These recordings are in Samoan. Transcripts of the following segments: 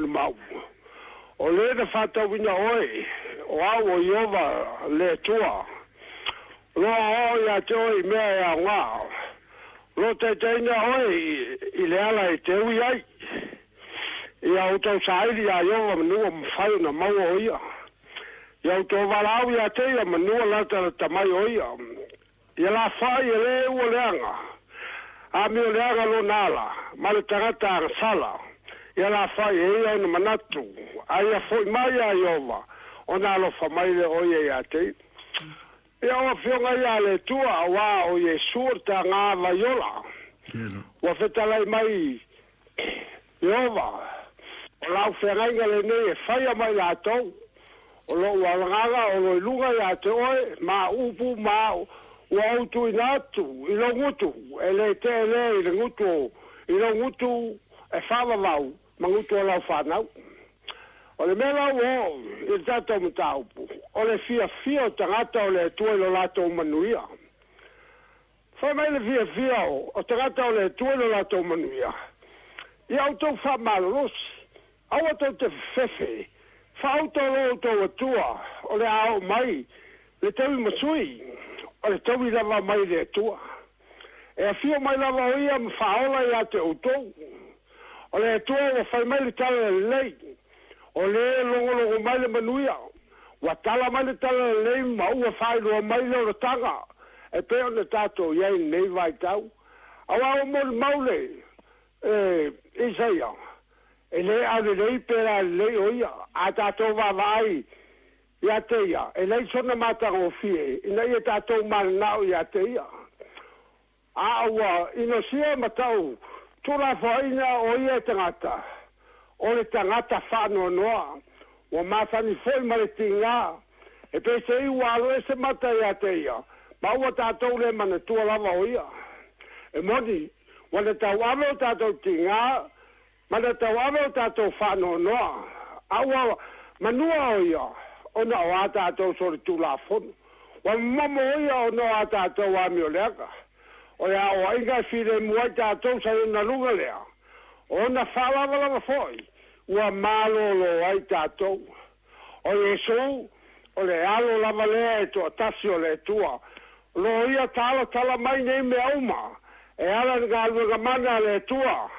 molimau. O lē na fa'atauina oe o au o Ieova le Atua, o loo aoao iā te oe i mea e aogā, o loo taitaiina oe i le ala e te ui ai. Ia outou saili iā Ieova manua mafai ona maua o ia. Ia outou valaau iā te ia manua latalata mai o ia. Ia lafoai e lē ua leaga, amio leaga lona ala, ma le tagata agasala. Ia lafoai e ia ona manatu, a ia fo'i mai iā Ieova, ona alofa mai lea o ia iā te ia. Ia o afioga ia a le Atua, auā o Iesu o le tagā vaiola. Ua fetalai mai Ieova, o lau feagaiga lenei e faia ma i latou, o lo'u agaga o lo i luga iā te oe, ma upu ma ua ou tuuina atu i lou gutu, e lē te'e lea i le gutu i lou gutu e faavavau ma gutu o lau fanau. O le mea la ua oo i le tatou mataupu, o le fiafia o tagata o le Atua i lo latou manuia. Fai mai le fiafia o tagata o le Atua i lo latou manuia, ia outou faamalolosi, aua tou te fefefe, faauto lo outou Atua, o le a oo mai le taui masui, o le taui lava mai le Atua. E afio mai lava o ia ma faaola iā te outou. O le Atua ua fai mai le tala lelei, o lē logologo mai le manuia, ua tala mai le tala lelei ma ua faailoa mai le olataga e pei ona tatou i ai i lenei vaitau. Auā ua molimau le Isaia, e lē aulelei pe lalelei o ia, a tatou vaavaai iā te ia, e leai sona matagofie ina ia tatou mananao iā te ia. A ua inosia ma tau tuulafoaina o ia e tagata, o le tagata faanoanoa, ua masani foi ma le tigā, e peiseai ua alo ese mata iā te ia, ma ua tatou le manatua lava o ia. E moni, ua na tauave o tatou tigā ma na tauave o tatou faanoanoa, a ua manua o ia ona o a tatou solitulafono. Ua momomo o ia ona o a tatou amioleaga. O le aoaiga e filemu ai tatou sa i ona luga lea, o ona faalavalava foi ua malōlō ai tatou. O Iesu, o le Alo lava lea e toatasi o le Atua, o loo ia talatala mai nei mea uma e ala i le galuega mana a le Atua.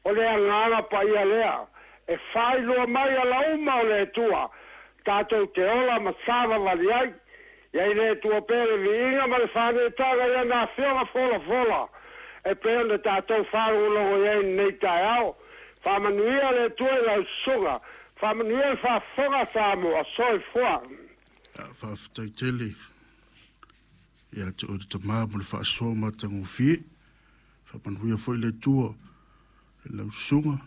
O le agaga paia lea e faailoa mai ala uma o le Atua tatou te ola ma savavali ai. Ia i le Atua pea le viiga ma le faaneetaga i ana afioga folafola e pei ona tatou faalogologo i ai i lenei taeao. Faamanuia le Atua i lau susuga. Faamanuia le faafofoga a Samoa. Soifua. Faafetai tele ia te oe le Tama mo le faasoa matagofie. Faamanuia foi le Atua i lau susuga,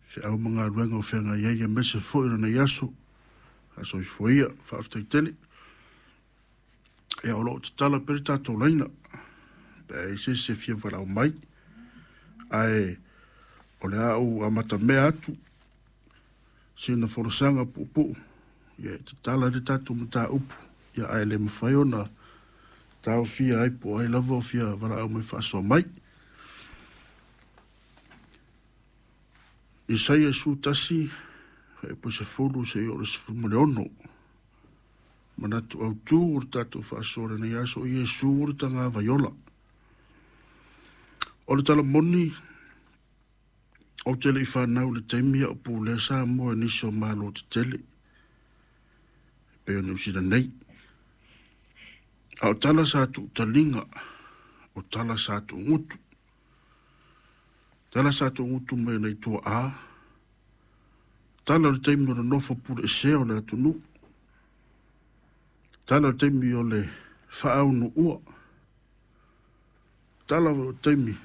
feau ma galuega o feagai ai aemaise foi o lenei aso. Faasoifua ia, faafetai tele. Ia, o lo o tatala pea le tatou laina pe a i ai se isi e fia valaau mai. Ae o le a ou amatamea atu sina folasaga puupuu, ia e tatala ai le tatou mataupu, ia ae le mafai ona taofia ai po o ai lava o fia valaau mai faasoa mai. Isaia 11, fuaiupu 10 seia oo i le 16. Manatu autu o le tatou faasoa i lenei aso, o Iesu o le tagavai ola. O le tala moni, ou te le i fanau i le taimi a o pulea Samoa i nisi o Malo tetele, e pei o Niu Sila nei. A o tala sa tuutaliga, o tala sa tuugutu. Tala sa tuugutu mai nai tuaa, tala o le taimi o le nofo pule esea o le atunuu, tala o le taimi o le faaunuua, tala o le taimi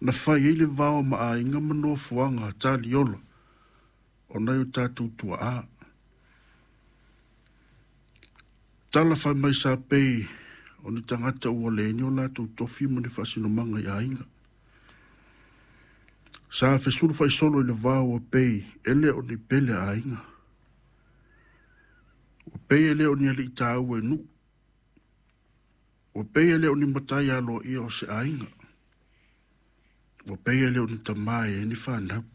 na fai ai le vao ma aiga ma nofoaga taliola o nai o tatou tuaa. Tala fai mai sa pei o ni tagata ua leai ni o latou tofi ma ni faasinomaga i aiga. Sa fesulufaisolo i le vao ua pei e le o ni pele a aiga. Ua pei e le o ni alii taua i nuu. Ua pei e le o ni matai aloaia o se aiga. Ua pei e le o ni tamā e i ai ni fanau.